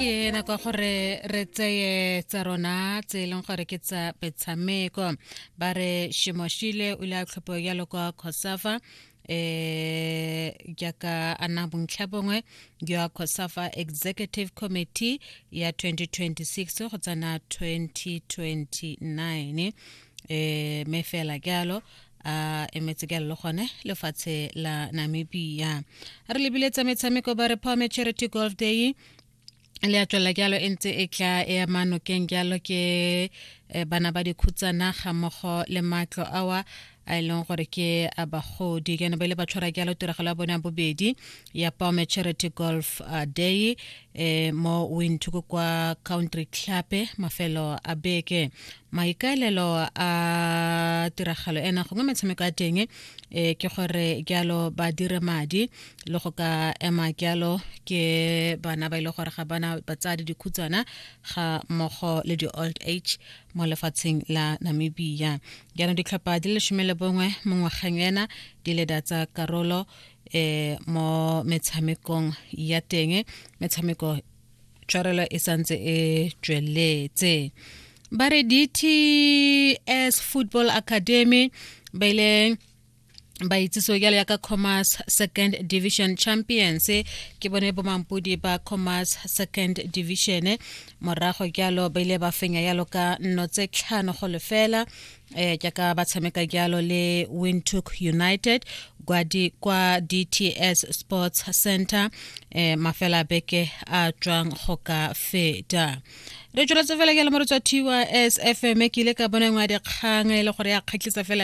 Ke nako ya gore re tseye tsa rona tse e leng gore ke tsa metshameko. Ba re Shimoshile o ile a tlhophiwa jalo kwa Cosafa jaaka a nna bontlha bongwe jwa Cosafa Executive Committee ya 2026 go tsena 2029. Mme fela jalo a emetse ka le gone lefatshe la Namibia. Re lebile tsa metshameko, ba re Palme Charity Golf Day le a tswelela jalo, e ntse e tla e ama nokeng jalo ke bana ba dikhutsana ga mmogo le matlo awa a e leng gore ke a bagodi. Jaanong ba ile ba tshwara jalo tiragalo ya bone ya bobedi ya Palme Charity Golf Day mo Windhoek kwa Country Club mafelo a beke. Maikaelelo a tiragalo ena gongwe metshameko ya teng ke gore jalo ba dire madi le go ka ema jalo ke bana ba ile gore ga bana batsadi, dikhutsana ga mmogo le di-old age mo lefatsheng la Namibia. Jaanong ditlhopha di le 11 mo ngwageng ena di le da tsa karolo mo metshamekong ya teng. Metshameko tshwarelo e santse e tsweletse. Ba re DTS Football Academy ba ile ba itsisiwe jalo yaka Commerce Second Division Champions. Ke bone bomampodi ba Commerce Second Division morago jalo ba ile ba fenya jalo ka 0 tse 5 go 0 jaaka ba tshameka jalo le Windhoek United kwa DTS Sports Center mafela beke a tswang go ka feta. Re tsweletse fela jalo mo re tswa TYS FM. Ke ile ka bona nngwe ya dikgang e le gore ya kgatlhisa fela.